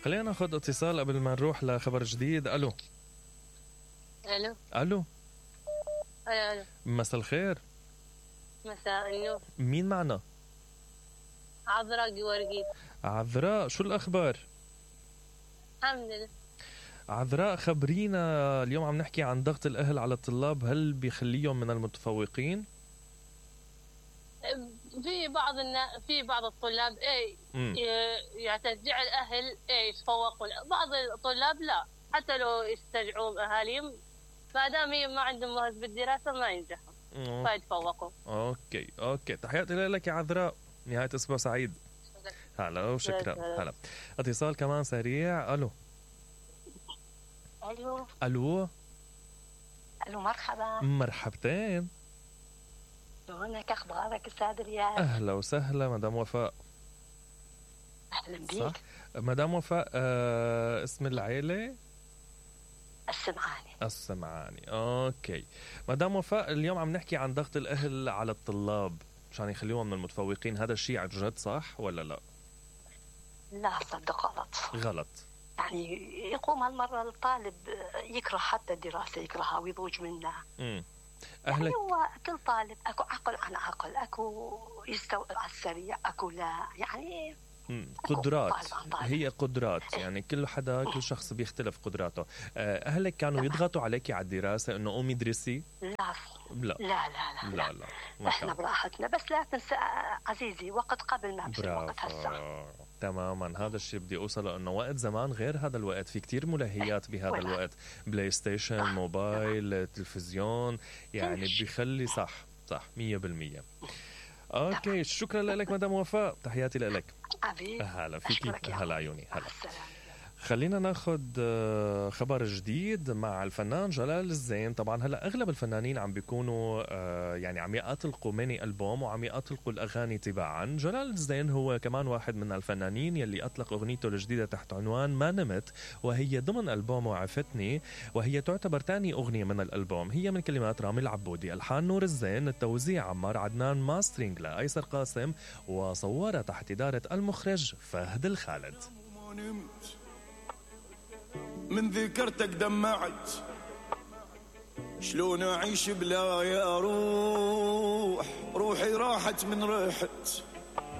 خلينا ناخذ اتصال قبل ما نروح لخبر جديد. الو الو الو الو مساء الخير. مساء النور. مين معنا؟ عذراء جوارجيت. عذراء، شو الاخبار؟ الحمد لله. عذراء خبرينا، اليوم عم نحكي عن ضغط الاهل على الطلاب، هل بيخليهم من المتفوقين؟ في بعض الطلاب يعني تشجيع الاهل يتفوقوا، بعض الطلاب لا، حتى لو يستشجعوا اهاليهم ما دام ما عندهم مهارة بالدراسه ما ينجحوا فيتفوقوا. اوكي تحياتي لك يا عذراء، نهايه اسبوع سعيد. هلا وشكرا. هلا اتصال كمان سريع. الو مرحبا. مرحبتين. شلونك؟ اخبارك استاذ رياض؟ اهلا وسهلا مدام وفاء. اهلا بيك. مدام وفاء، اسم العيله؟ السمعاني. اوكي مدام وفاء، اليوم عم نحكي عن ضغط الاهل على الطلاب مشان يخليهم من المتفوقين، هذا الشيء عن جد صح ولا لا؟ لا صدق غلط. يعني يقوم هالمرة الطالب يكره حتى الدراسة، يكرهها ويضوج منها. أهلك يعني هو كل طالب أكو عقل عن عقل، أكو يستوعب على السريع، أكو لا، يعني قدرات. هي قدرات، يعني كل شخص بيختلف قدراته. أهلك كانوا يضغطوا عليك على الدراسة إنه قومي ادرسي؟ لا احنا براحتنا، بس لا تنسى عزيزي وقت قبل ما بصير وقت هسه. تماما، هذا الشيء بدي اوصله، انه وقت زمان غير هذا الوقت، في كتير ملهيات بهذا الوقت، بلاي ستيشن، موبايل، تلفزيون، يعني بيخلي صح 100%. اوكي شكرا لك مدام وفاء، تحياتي لك. هلا فيكي. هلا عيوني. هلا خلينا ناخذ خبر جديد مع الفنان جلال الزين. طبعا هلا اغلب الفنانين عم بيكونوا يعني عم يطلقوا ميني ألبوم وعم يطلقوا الاغاني تباعا. جلال الزين هو كمان واحد من الفنانين يلي اطلق اغنيته الجديده تحت عنوان ما نمت، وهي ضمن ألبوم عفتني، وهي تعتبر ثاني اغنيه من الألبوم. هي من كلمات رامي العبودي، الحان نور الزين، التوزيع عمار عدنان، ماسترينج لايسر قاسم، وصورها تحت اداره المخرج فهد الخالد. من ذكرتك دمعت، شلون أعيش بلا يا روحي راحت من ريحت